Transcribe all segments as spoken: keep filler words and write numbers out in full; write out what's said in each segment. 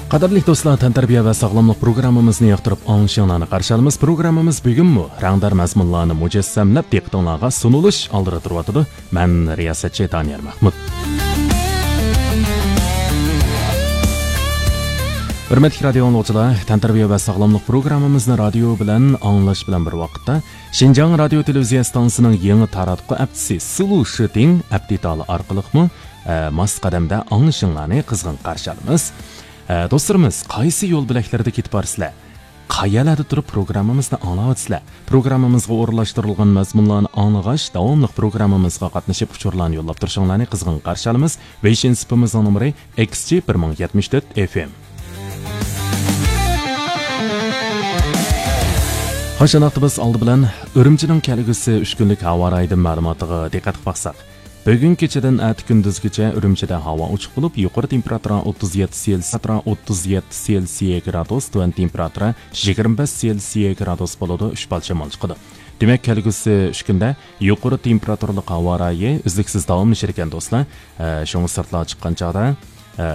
قەدىرلىك دوستلار، تەنتەربىيە ۋە ساغلاملىق پروگراممىمىزنى ياقتۇرۇپ ئاڭلىشىڭلارنى قارشى ئالىمىز. پروگراممىمىز بۈگۈنمۇ رەڭدار مەزمۇنلارنى مۇجەسسەملەپ دىققىتىڭلارغا سۇنۇلۇش ئالدىدا تۇرۇۋاتىدۇ. مەن رىياسەتچى دانىيار مەھمۇت. ھۆرمەتلىك رادىيو ئاڭلىغۇچىلار، تەنتەربىيە ۋە ساغلاملىق پروگراممىمىزنى رادىيو بىلەن ئاڭلاش بىلەن بىر ۋاقىتتا، شىنجاڭ رادىيو تېلېۋىزىيە ئىستانسىسىنىڭ يېڭى تاراتقۇ ئەپچىسى سلۇشىتىڭ ئەپ دېتالى ئارقىلىقمۇ، ئە، ماس قەدەمدە ئاڭلىشىڭلارنى قىزغىن قارشى ئالىمىز. ئە، دوستلىرىمىز، قايسى يول بۆلەكلىرىدە كېتىپ بارىسىلەر؟ قەيەرلەردە تۇرۇپ پروگراممىمىزنى ئاڭلاۋاتىسىلەر؟ پروگراممىمىزغا ئورۇنلاشتۇرۇلغان مەزمۇنلارنى ئاڭلىغاچ، داۋاملىق پروگراممىمىزغا قاتنىشىپ ئۇچۇرلارنى يوللاپ تۇرۇشۇڭلارنى قىزغىن قارشى ئالىمىز. ۋېيشىن سېپىمىزنىڭ نومۇرى ئېكس جى بىر مىڭ يەتمىش تۆت ئېف ئېم. خوش، ئاڭلىقتا بىز ئالدى بىلەن ئۈرۈمچىنىڭ كەلگۈسى ئۈچ كۈنلۈك ھاۋا رايىدىن مەلۇماتىغا دىققەت قىلىپ باقساق. بۈگۈن كېچىدىن ئەتە كۈندۈزگىچە ئۈرۈمچىدە ھاۋا ئوچۇق بولۇپ، يۇقىرى تېمپېراتۇرا ئوتتۇز يەتتە سېلسىيە، ئوتتۇز يەتتە سېلسىيە گرادۇس، تۆۋەن تېمپېراتۇرا يىگىرمە بەش سېلسىيە گرادۇس بولىدۇ، ئۈچ پال شامال چىقىدۇ. دېمەك، كەلگۈسى ئۈچ كۈندە يۇقىرى تېمپېراتۇرىلىق ھاۋا رايى ئۈزلۈكسىز داۋاملىشىدىكەن، دوستلار. ئە، شۇڭا سىرتلارغا چىققان چاغدا، ئە،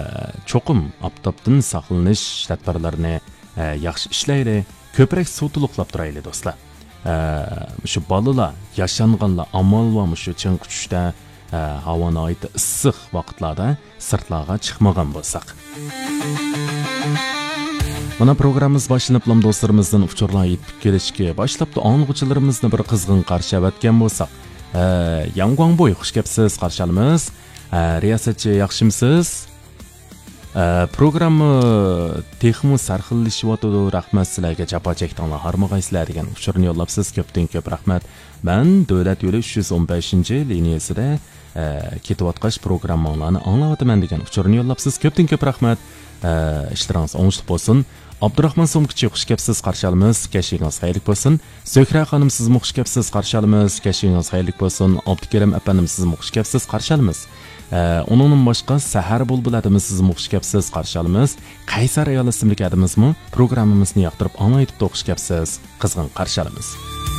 چوقۇم ئاپتاپتىن ساقلىنىش تەدبىرلىرىنى، ئە، ياخشى ئىشلەيلى، كۆپرەك سۇ تولۇقلاپ تۇرايلى، دوستلار. ئە، شۇ بالىلار، ياشانغانلار ئامال بار مۇشۇ چىڭقى چۈشتە، ئە، ھاۋا ناھايىتى ئىسسىق ۋاقىتلاردا سىرتلارغا چىقمىغان بولساق. مانا، پروگراممىمىز باشلىنىپلا دوستلىرىمىزدىن ئۇچۇرلار يېتىپ كېلىشكە باشلاپتۇ. ئاڭلىغۇچىلىرىمىزنى بىر قىزغىن قارشى ئەۋەتكەن بولساق. ئە، ياڭگۇاڭبوي، خۇش كەپسىز، قارشى ئالىمىز. ئە، رىياسەتچى، ياخشىمسىز؟ ئە، پروگرامما تېخىمۇ سەرخىللىشىۋاتىدۇ. رەھمەت سىلەرگە، جاپا چەكتىڭلار، ھارمىغايسىلەر دېگەن ئۇچۇرنى يوللاپسىز. كۆپتىن كۆپ رەھمەت. مەن دۆلەت يولى ئۈچ يۈز ئون بەشىنچى لىنىيەسىدە، ئە، كېتىۋاتقاچ پروگرامماڭلارنى ئاڭلاۋاتىمەن دېگەن ئۇچۇرنى يوللاپسىز. كۆپتىن كۆپ رەھمەت. ئە، ئىشلىرىڭىز ئوڭۇشلۇق بولسۇن. ئابدۇراخمان سومكىچى، خۇش كەپسىز، قارشى ئالىمىز. كەچىگىڭىز خەيرلىك بولسۇن. زۆھرە خانىم، سىزمۇ خۇش كەپسىز، قارشى ئالىمىز. كەچىگىڭىز خەيرلىك بولسۇن. ئابدۇكېرىم ئەپەندىم، سىزمۇ خۇش كەپسىز، قارشى ئالىمىز. ئە، ئۇنىڭدىن باشقا سەھەر بۇلبۇل ئادىمى، سىزمۇ خۇش كەپسىز، قارشى ئالىمىز. قەيسەر ئايال ئىسىملىك ئادىمىزمۇ پروگراممىمىزنى ياقتۇرۇپ ئاڭلايتىپتۇ، خۇش كەپسىز، قىزغىن قارشى ئالىمىز.